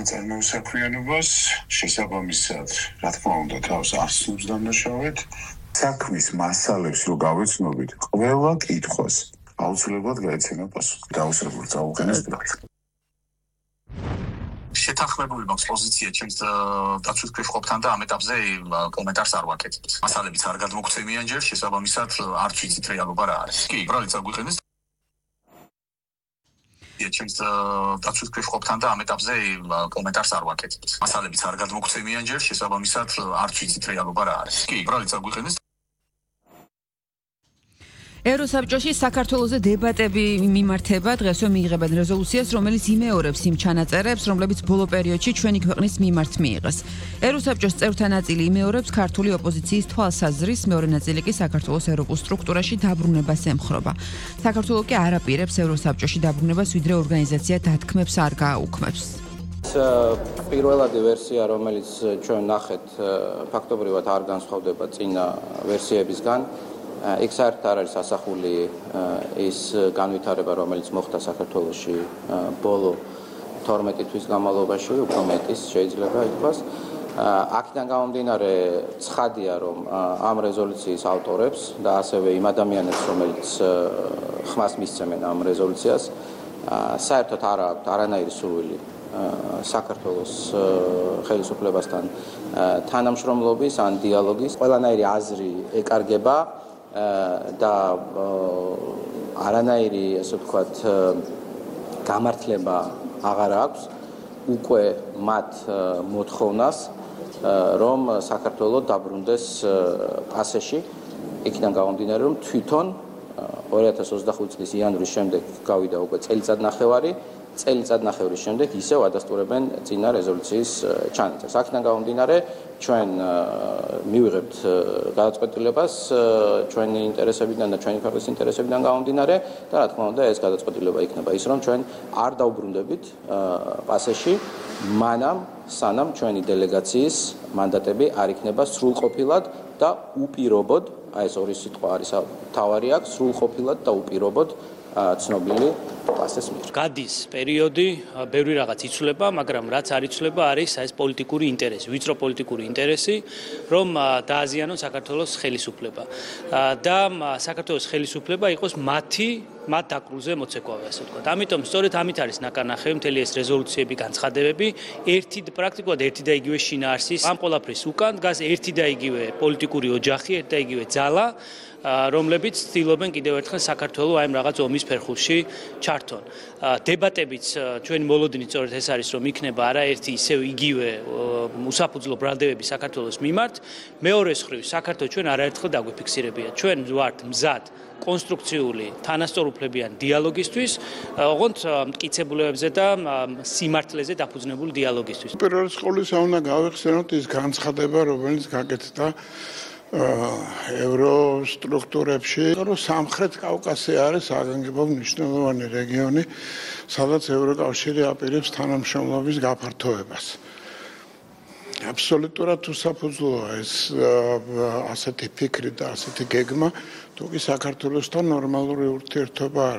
საწარმოო საქმიანობას შესაბამისად, რა თქმა უნდა, თავს ასრულებს დამნაშავედ. საქმის მასალებს რო გავეცნობით, ყველა კითხვას აუცილებლად გაეცემა პასუხი. დაუსრულებელ წაუყენეს ბრალს. შეთანხმებული მაქვს პოზიცია ჩემს დაცვის ქვეშ ყოფთან და ამ ეტაპზე კომენტარს არ ვაკეთებ. მასალებიც არ გადმოგცემიან ჯერ, შესაბამისად არც ვიცით რეალობა რა არის. კი, ბრალიც აგვიყენეს ჩემს დაცვის ქვეშ ყოფთან და ამ ეტაპზე კომენტარს არ ვაკეთებ. მასალებიც არ გადმოგცემიან ჯერ, შესაბამისად არც ვიცით რეალობა რა არის. კი, ბრალიც აგვიყენეს ევროსაბჭოში საქართველოზე დებატები მიმართება, დღესვე მიიღებენ რეზოლუციას, რომელიც იმეორებს იმ ჩანაწერებს, რომლებიც ბოლო პერიოდში ჩვენი ქვეყნის მიმართ მიიღეს. ევროსაბჭოს წევრთა ნაწილი იმეორებს ქართული ოპოზიციის თვალსაზრისს, მეორე ნაწილი კი საქართველოს ევროპულ სტრუქტურაში დაბრუნებას ემხრობა. საქართველო კი არ აპირებს ევროსაბჭოში დაბრუნებას, ვიდრე ორგანიზაცია დათქმებს არ გააუქმებს. პირველადი ვერსია, რომელიც ჩვენ ნახეთ, ფაქტობრივად არ განსხვავდება წინა ვერსიებისგან. იქ საერთოდ არ არის ასახული ის განვითარება, რომელიც მოხდა საქართველოში ბოლო 12 თვის განმავლობაში, უფრო მეტის შეიძლება ითქვას. აქედან გამომდინარე, ცხადია, რომ ამ რეზოლუციის ავტორებს და ასევე იმ ადამიანებს, რომელიც ხმას მისცემენ ამ რეზოლუციას, საერთოდ არ აქვთ არანაირი სურვილი საქართველოს ხელისუფლებასთან თანამშრომლობის ან დიალოგის. ყველანაირი აზრი ეკარგება და არანაირი, ასე ვთქვათ, გამართლება აღარ აქვს უკვე მათ მოთხოვნას, რომ საქართველო დაბრუნდეს პასეში, იქიდან გამომდინარე, რომ თვითონ 2025 წლის იანვრის შემდეგ გავიდა უკვე წელიწადნახევრის შემდეგ ისევ ადასტურებენ წინა რეზოლუციის ჩანაწერს. აქედან გამომდინარე, ჩვენ მივიღებთ გადაწყვეტილებას ჩვენი ინტერესებიდან და ჩვენი ქვეყნის ინტერესებიდან გამომდინარე და რა თქმა უნდა ეს გადაწყვეტილება იქნება ის, რომ ჩვენ არ დავბრუნდებით პასეში მანამ სანამ ჩვენი დელეგაციის მანდატები არ იქნება სრულყოფილად და უპირობოდ, აი ეს ორი სიტყვა არის თავარი აქ, სრულყოფილად და უპირობოდ ცნობილი პასეს მიერ. გადის პერიოდი, ბევრი რაღაც იცვლება, მაგრამ რაც არ იცვლება არის ეს პოლიტიკური ინტერესი, ვიწრო პოლიტიკური ინტერესი, რომ დააზიანოს საქართველოს ხელისუფლება და საქართველოს ხელისუფლება იყოს მათ დაკრულზე მოცეკვავე, ასე ვთქვათ. ამიტომ სწორედ ამით არის ნაკარნახევი მთელი ეს რეზოლუციები, განცხადებები, პრაქტიკულად ერთი და იგივე შინაარსის. ამ ყველაფრის უკან დგას ერთი და იგივე პოლიტიკური ოჯახი, ერთი და იგივე ძალა, რომლებიც ცდილობენ კიდევ ერთხელ საქართველოს აი ამ რაღაც ომის ფერხულში ჩართონ. დებატებიც ჩვენი მოლოდინი სწორედ ეს არის, რომ იქნება არაერთი ისევ იგივე უსაფუძვლო ბრალდებები საქართველოს მიმართ. მეორეს მხრივ, საქართველოს ჩვენ არაერთხელ დაგვიფიქსირებია. ჩვენ ვართ მზად კონსტრუქციული, თანასწორუფლებიან დიალოგისთვის, ოღონდ მტკიცებულებებზე და სიმართლეზე დაფუძნებული დიალოგისთვის. პირველ რიგში უნდა გავიხსენოთ ის განცხადება, რომელიც გაკეთდა ევროსტრუქტურებში, რომ სამხრეთ კავკასია არის საგანგებო მნიშვნელოვანი რეგიონი, სადაც ევროკავშირი აპირებს თანამშრომლობის გაფართოებას. აბსოლუტურად უსაფუძვლოა ეს ასეთი ფიქრი და ასეთი გეგმა, თუ კი საქართველოსთან ნორმალური ურთიერთობა არ